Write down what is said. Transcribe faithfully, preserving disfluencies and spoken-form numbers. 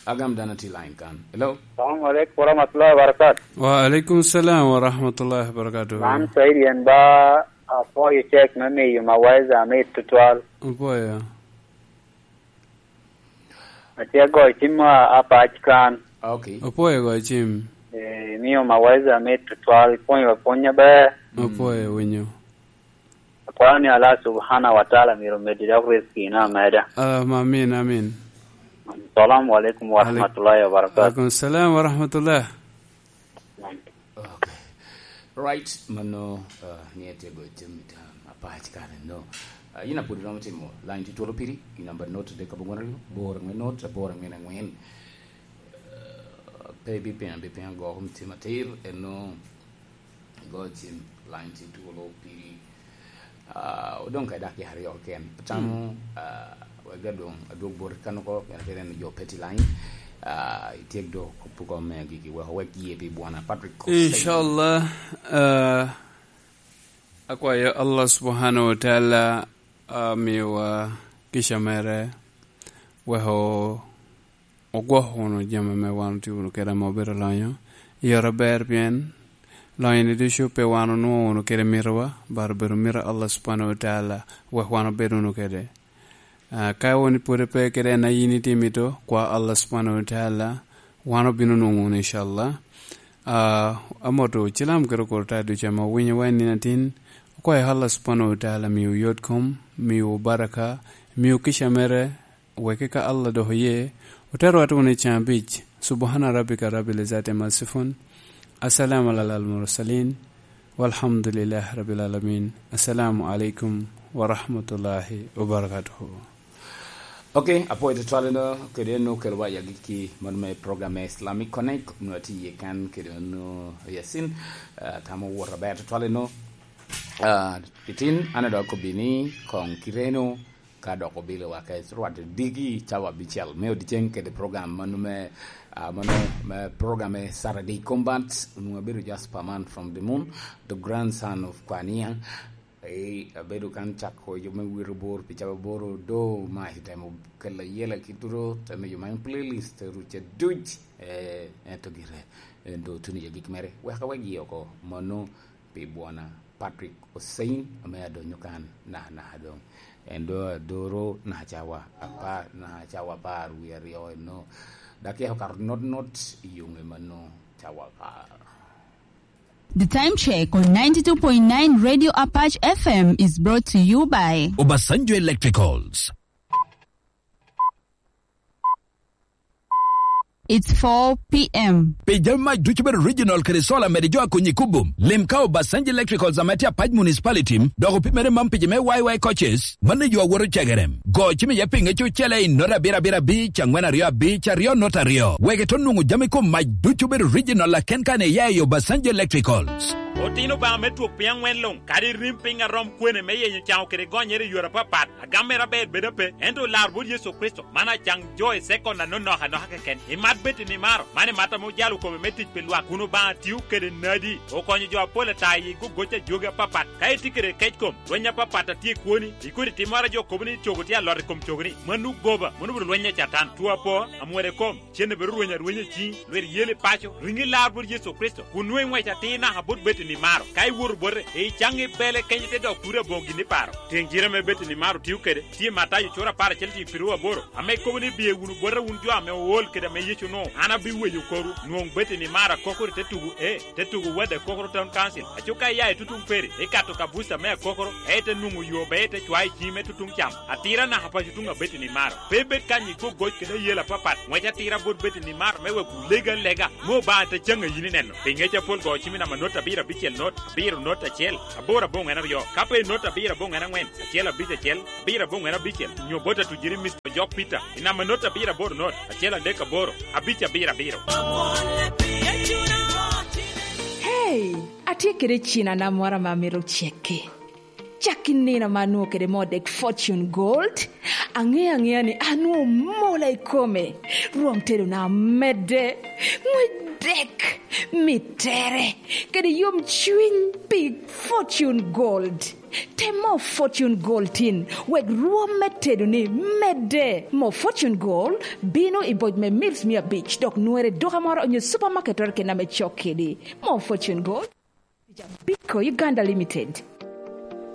Agam dano tye line kan. Hello? Salam alaikum warahmatullahi wabarakatuh. Wa alaikum salam warahmatullahi wabarakatuh. Man Said yen ba apwoyo cek me miyo Mawaiza mit tutwal. Apwoyo. Atye goyo cim a, apac kan. Okay. Apwoyo goyo cim. Eh, miyo Mawaiza mit tutwal, pwonyo apwonya ber. Apwoyo winyo. Akwao ni Allah Subhanahu wa Taala myero omeddi dok rizki na ameda. Allahumma amin, amin. Assalamu alaikum wa rahmatullahi wa barakatuh. Alaikum salam wa rahmatullah. Okay. Right, mano, uh, ni etego jami tam apac kare no. Uh, ina pudi romo timo line ti twolo piri, i number note de kabongoro, boro ngwe note, boro ngwe na ngwen. Uh, pe bi pina, bi pina go, um, tima tir, eno, Go cim, line tye twolo piri. Ah, odong ka dakika aryo keken. Atamo, ah, wek adong adwog bot kan oko, pien atye neno jo pe tye line. Ah, ityek do kop oko me agikki, wek owek yie pi bwona. Patrick Hussein. Inshallah, ah, akwayo Allah Subhanahu wa Taala, ah, miwa kica mere, wek o-, ogwoko wunu jami ame wan otye wunu kede ame obedo lonyo. I ot aber, pien lonyo-ni ducu pe wan onwoŋo wunu kede mitowa, but obedo mito Allah Subhanahu wa Taala wek wan obed wunu kede. Ah, ka wun pwod ipe kede en a yin itye mito, kwa Allah Subhanahu wa Taala, wan obino nwoŋo wunu, inshallah. Ah, amoto cilam kede okor ta ducu ame owinyowa i nino atin, okwayo Allah Subhanahu wa Taala miwu yot kom, miwu baraka, miwu kica mere, wek ka Allah dok oye, otero watu wunu i can abic. Subhana rabbika rabbil izzati amma yasifun. Assalamu alal mursalin. Walhamdulillahi rabbil alamin. Assalamu alaikum wa rahmatullahi wa barakatuhu. Okay, apwoyo tutwal eno, kede en okelo wa i agikki man me program me Islamic Connect, onwoŋo atye iye kan kede onwoŋo Yasin, ah, tamo wot aber tutwal eno. Ah, itin, an adok kobbi ni koŋ kireno, ka dok obilo wa ka rwat odiki cawa abicel me odiceng kede program mano me, ah, mano me program me Saturday Combat, onwoŋo abedo just per month from the moon, the grandson of Kwania. Eh, abedo kan cako jo me wiro bor pi cawa aboro, do ma itemo kela yela ki turo, temo jo man playlist ruca duc, eh, ento gire, eh, do tuno jo gik mere. Wek awek yie oko, mano pi bwona Patrick Hussein, ame adonyo kan, na, na, adong. En do adoro na cawa apar, na cawa apar wie aryo eno. Dakika okato not, not i yunge mano cawa apar. The time check on ninety-two point nine Radio Apache F M is brought to you by Obasanjo Electricals. It's four p.m. Pi jami mac ducu bedo regional kede solar mede jo a konyi kubum. Lim ka Obasanjo Electricals ame tye Apac Municipality, dok opimere mam pi jo me Y Y coaches, mano i yo a woto cegerem. Go cim iye pinge cucele i not abiro abiro abic, angwen aryo abic, aryo not aryo. Wek ito nwoŋo jami kom mac ducu bedo regional aken kan iya i Obasanjo Electricals. Otino Obaŋa me twok piny aŋwen luŋ, kadi rim piny arom kwene me yenyo caŋo kede gonyere i yore apapat, agam mere aber bedo ape, ento olar bot Yecu Kricito, man acaŋ jo i sekon anonok anoka keken. Imat bed i nimaro, man imat ame ojalo kome me tic pi lwak, kun Obaŋa tio kede nadi, okonyo jo apol ata i gogoc a jogi apapat. Ka itye kede kec kom, lweny apapat a tye i kwoni, i kodi timmoro a jo kobo ni cogo tye alot i kom cogoni, mano goba, mano obedo lweny a Catan, two apo, amwode kom, cen obedo rweny arwenya i ciŋi, lwit yeli paco, riŋi lar bot Yecu Kricito, kun nwoŋo iŋwec atir naka bot bed i nimaro. Ka iwoto bote, icaŋ ibele kenyo te dok turi aboŋo gin iparo. Tiŋ cite ame bed i nimaro tio kede, tye Matayo cura apar acel tiŋ piru aboro, ame kobo ni, "Biye wunu bota wun jo ame ool kede ame Yecu onwoŋo, an abiweyo korwu." Nwoŋ bed i nimaro akokoro i te tugo, e, te tugo Wade Akokoro Town Council. Aco ka iya i tutuŋ peri, ikato ka buca me Akokoro, e, te nwoŋo yo be ite cwayo i ciŋi me tutuŋ cam. Atira naka paco tuŋ abed i nimaro. Pe ibed kany i gogoc kede ayela apapat. Ŋwec atira bot bed i nimaro me wek wulego alega. Me Obaŋa te caŋ a yin ineno. Pi ŋec apol go cim i namba not abiro abicel not, abiro not acel, aboro aboŋwen aryo. Ka pe i not abiro aboŋwen aŋwen, acel abic acel, abiro aboŋwen abicel, nyo bot atujiri Mister Ojok Peter, i namba not abiro aboro not, acel adek aboro, abic abiro abiro. Hey, atye kede cina na moro ame amito cekki. Cak i nino ame anwoŋo kede moo dek Fortune Gold, aŋeo aŋea ni anwoŋo mola i kome, rwom tedona medde, ŋwec dek, mittere, kede yomcwiny pi Fortune Gold. Tem moo Fortune Gold tin, wek rwom me tedoni medde. Moo Fortune Gold bino i boc me mils mia abic, dok nwere i duka moro onyo supermarket oro kena me cok kedi. Moo Fortune Gold, Biko Uganda Limited.